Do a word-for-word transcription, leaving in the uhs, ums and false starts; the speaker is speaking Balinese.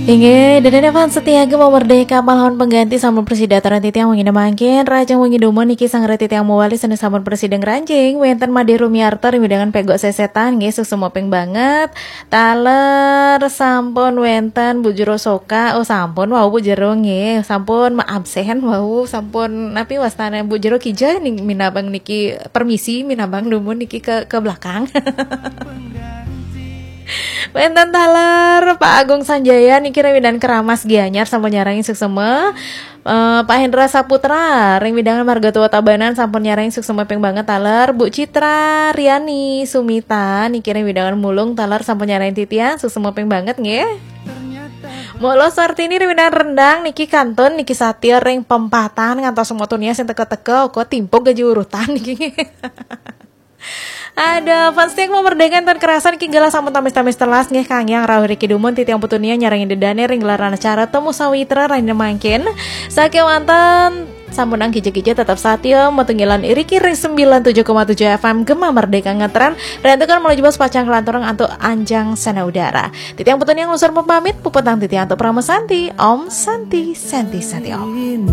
Inggih, dan ada fans setia Gema Merdeka, malahan pengganti sampun prasida titiang wengi mangkin, rahajeng wengi dumun niki sang titiang mawali sané sampun prasida ngranjing, wénten Madé Rumiarta ring wewidangan Pégok Sesetan, nggih, suksma ping banget. Taler sampun wénten Bu Jero Soka, oh sampun wau Bu Jero nggih, sampun maabsen wau, sampun napi wastané Bu Jero Kija ning minabang niki permisi, minabang dumun niki ke, ke belakang. Wénten taler Pak Agung Sanjaya niki ring wewidangan Keramas Gianyar sampun nyarengin suksma. Eh, Pak Hendra Saputra ring wewidangan Marga Tua Tabanan sampun nyarengin suksma ping banget taler. Bu Citra Riani Sumita niki ring wewidangan Mulung taler sampun nyarengin titiang suksma ping banget nggih. Mula Sartini ring wewidangan Rendang niki kantun niki satia ring pempatan ngantos semua tunia sing teka-teka kok timpuk gaji urutan niki. Ada fans setia Gema Merdeka ten kerasan niki galah sampun tamis-tamis telas nggih, kangge rauh riki dumun titiang putunia nyarengin dedane ring gelaran acara Temu Sawitra rahina mangkin. Sakewanten sampun angkija-kija tetap satia matunggilan iriki ring sembilan tujuh koma tujuh F M Gema Merdeka Ngetren. Rentukan menuju bos pacang kelanturang antuk anjang sana udara. Titiang putunia nglusur pamit, puputang titiang antuk Parama Santi. Om Santi, Santi, Santi Om.